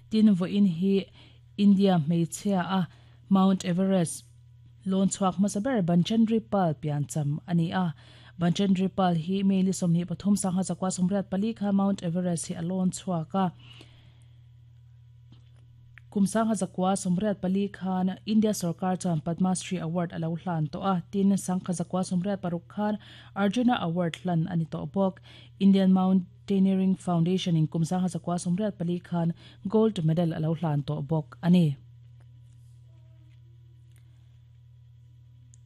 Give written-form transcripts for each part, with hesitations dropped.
Tin, vawiin hi India hmeichhia a Mount Everest lawn chhuak hmasa ber Banchandri Pal piancham a ni a. Banchandri Pal hi May ni 23 1984 kha Mount Everest hi a lawn chhuak a. Kum 1984 khan India sorkar chuan Padma Shri Award a lo hlan tawh a, tin, 1986 khan Arjuna Award hlan a ni tawh bawk. Indian Mountaineering Foundation in kum 1984 khan Gold Medal a lo hlan tawh bawk a ni.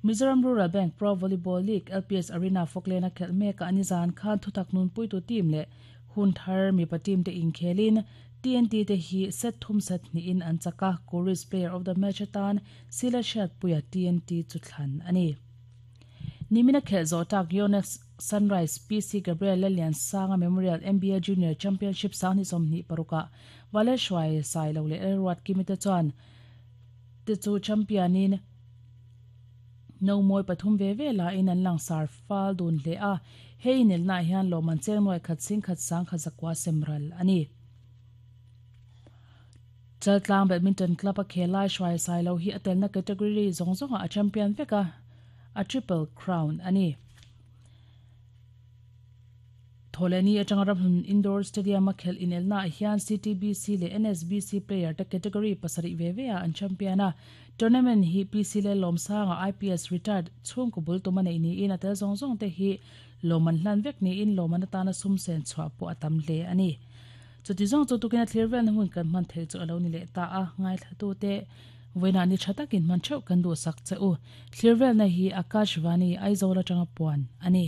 Mizoram Rural Bank Pro Volleyball League LPS Arena Fawklena khelh mekah nizan khan thutak nunpuitu team leh hun thar mipa team te inkhelin TNT te hi set thum set hnihin an chak a, Kuris Player of the Match atan Sila Hriatpuia TNT chu thlan a ni. Nimina khelh zawh tak Yonex Sunrise PC Gabriel Lalliansanga Memorial NBA Junior Championship sanghnih 26 ah Valeshwai Sailo leh Lalruat Kimi te chuan te chu champion in No mawi pathum ve ve lahin an langsar fal dun hle a, he inelnaah hian lawmman cheng nuai khat sing khat sang khat zakua sem ral a ni. Chaltlang Badminton Club a khel lai hruai sai lo hi a telna category zawng zawngah a champion vek a, a triple crown a ni. Thawhlehni atanga Ramhlun Indoor Stadium-a khelh inelnaah hian CTBC leh NSBC player te category pasarih ve ve ah an champion a. Tournament hi PC Lellawmsanga IPS retired chhungkaw bul tum a neih niin a tel zawng zawng te hi lawm an hlan vek niin lawm an atana sum sen chhuah pawh a tam hle a ni. Chuti zawng chu tukin a thlir velna hun kan hman theih chu a lo ni leh ta a, ngaithlatute vawiinah ni tha takin hman theuh kan duhsak che u. Thlir velna hi Akashvani Aizawl atanga puan a ni.